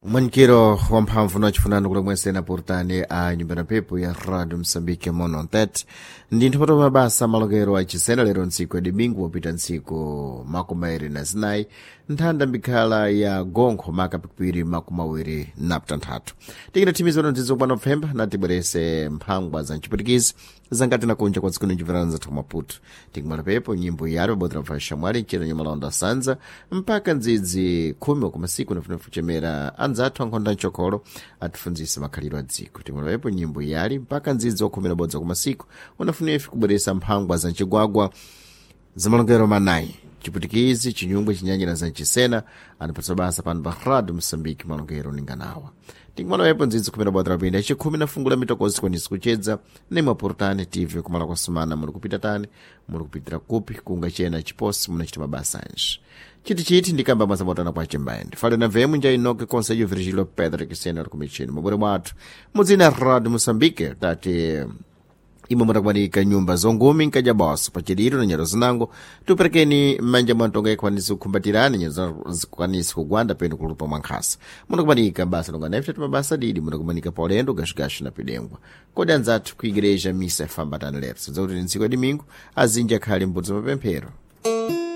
Mwanikiro wamphamvu nachifunano kulemwesena portani a nyumba na pepo ya Radio Msambike mono ntet ndi nthapato mabasa malokero achisena lero ntsiku ya domingo wapita ntsiku 24 nthanda mbikhala ya gonkho maka pikipiri 27. Tikinathimizano ndzidzo pano pfemba natibwerese mphangwa za mchipwitikizi zangati nakunja kwa dziko ninjimverana zathu Maputo. Tikumala pepo nyimbo yari pabodzi na shamwali mchero nyamalonda sanza mpaka ndzidzi 10 wakumasiku nafuna kuchemera anzathu ankhonda mchokolo atifunzise makhalidwe a dziko. Tikumala pepo nyimbo yali mpaka ndzidzi wakhumi na bodza kumasiku unafuna ife kubweresa mphangwa za mchigwagwa zamalongero manayi: Chipwitikizi, Chinyungwe, Chinyanja na Zanchisena. Anapatsa basa pano pa Radio Msambiki malongero ninganawa. Tinkumalawepo ndzidzi 10 bodza pinda chikhumi na fungu la mitokozi kwanisi kuchedza nimwaportani tv kumala kwa sumana muli kupita tani, muli kupitira kupi, kunga chena chiposi munachita mabasa anji chitichiti ndikamba mwazamotana kwa chimbaendi fale na vemu nja inoke konselho Virgilio Pedro Kisena ali kumichini mabore mwathu mudzina Radio Mosambike. Tati imwe mutakumanika nyumba zongumi nkajaboso pachiliro na nyero zinango tuperekeni mmanja mwa ntonga ikwanisi kukhumbatirani nyero zikwanisi kugwanda penu kulupa mwankhasa. Munakumanika basa longa nefte mabasa didi, munakumanika paulendo gashigashi na pidengwa. Kodi anzathu ku igreja misa ifambatani lero? Sadza kuti ni ntsiku ya domingo azinji akhali mbudzi mapemphero.